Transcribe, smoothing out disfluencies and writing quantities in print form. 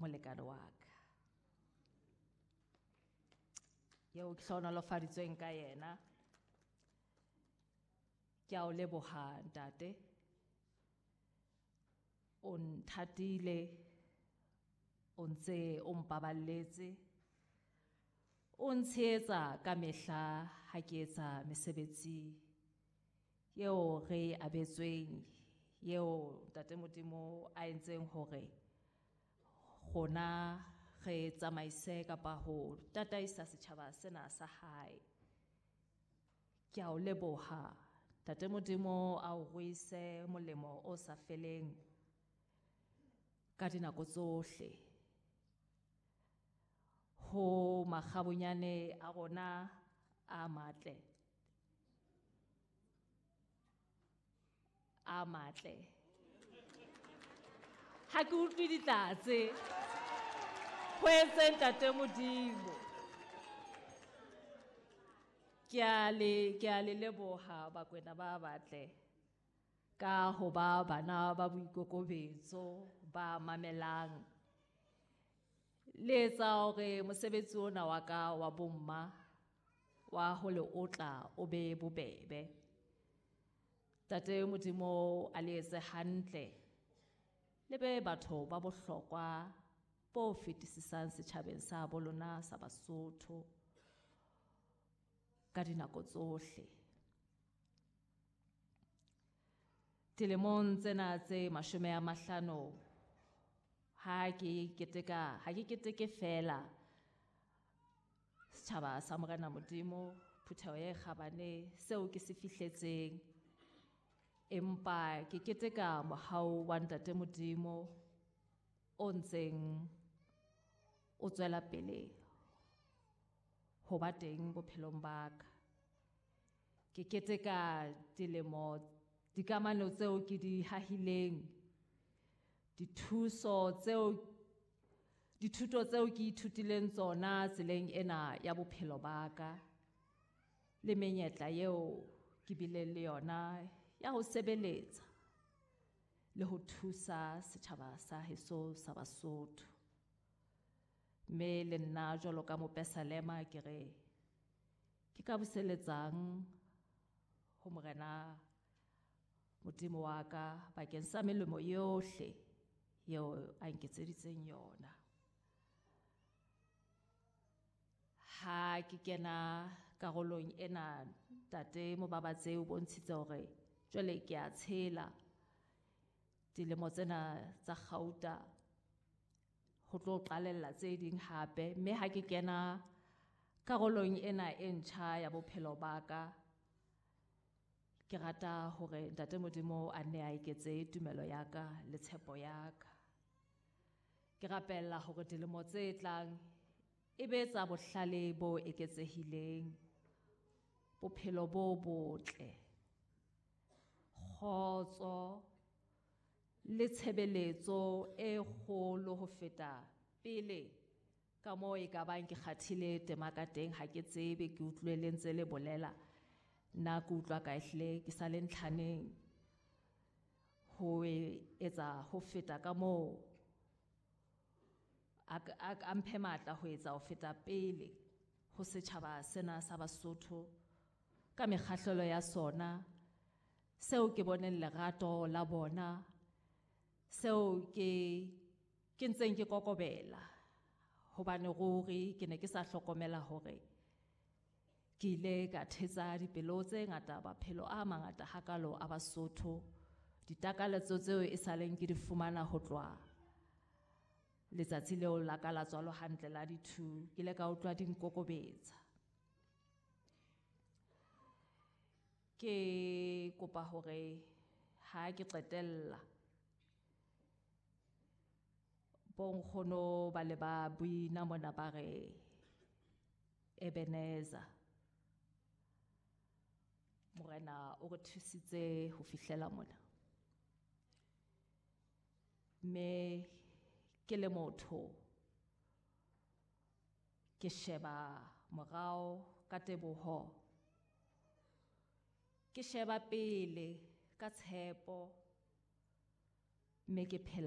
molekane wa ka eo ke hlohonolofaditsweng ka yena. Ke a o leboha ntate, o nthatile, o ntse o mpaballetse, o ntshehetsa ka mehla ha ke etsa mesebetsi eo re abetsweng, eo ntate Modimo a entseng hore rona re tsamaise kapa ho tataisa setjhaba sena sa hae. Ke a o leboha ntate Modimo, a o ruise molemo o sa feleng ka dinako tsohle. Ho makgabunyane a rona a matle, a matle. Ha ke utlwe ditlatse. Ho entse ntate Modimo. Ke a le leboha Bakwena ba batle ka ho ba bana ba boikokobetso ba mamelang. Le etsa hore mosebetsi ona wa ka wa bomma wa ho le otla o be bobebe. Ntate Modimo a le etse hantle, le be batho ba bohlokwa bo fetisisang setjhabeng sa bo lona sa Basotho ka dinako tsohle. Dilemong tsena tse 50 ha ke keteke fela setjhaba sa Morena Modimo, phutheho e kgabane seo ke se fihletseng, empa ke keteka mohau wa ntate Modimo o ntseng o tswela pele ho ba teng bophelong ba ka. Ke keteka dilemo, dikamano tseo ke di hahileng, dithuso tseo, dithuto tseo ke ithutileng tsona tseleng ena ya bophelo ba ka, le menyetla eo ke bileng le yona ya ho sebeletsa le ho thusa setjhaba sa heso sa Basotho. Mme le nna jwalo ka mopesalema ke re ke ka buseletsang ho Morena Modimo wa ka bakeng sa melemo yohle eo a nketseditseng yona. Ha ke kena karolong ena, ntate Mobabatse o bontshitse hore jwale ke a tshela dilemo tsena tsa kgauta ho tlo qalella tse ding hape. Mme ha ke kena karolong ena e ntjha ya bophelo ba ka, ke rata hore ntate Modimo a nne a eketse tumelo ya ka le tshepo ya ka. Ke rapella hore dilemo tse tlang e be tsa bohlale bo eketsehileng, bophelo bo botle, kgotso le tshebeletso e kgolo ho feta pele ka moo e ka bang ke kgathile tema ka teng. Ha ke tsebe, ke utlwe le ntse le bolela, nna ke utlwa ka ehlile ke sa le ntlhaneng ho etsa ho feta ka moo a mphe matla ho etsa ho feta pele ho setjhaba sena sa Basotho ka mekgahlelo ya sona, seo ke boneng lerato la bona, seo ke ntseng ke kokobela, hobane ruri ke ne ke sa hlokomela hore ke ile ka thetsa dipelo tse ngata, maphelo a mangata hakalo a Basotho, ditakaletso tseo e saleng ke di fumana ho tloha letsatsi leo la ka la tswalo hantle la di-2, ke ile ka utlwa di nkokobetsa. Ke kopa hore ha ke qetella bonkgono ba le ba buina mona ba re Ebenezer, Morena o re thusitse ho fihlela mona. Mme ke le motho ke sheba morao ka teboho, ke sheba pele ka tshepo, mme ke phela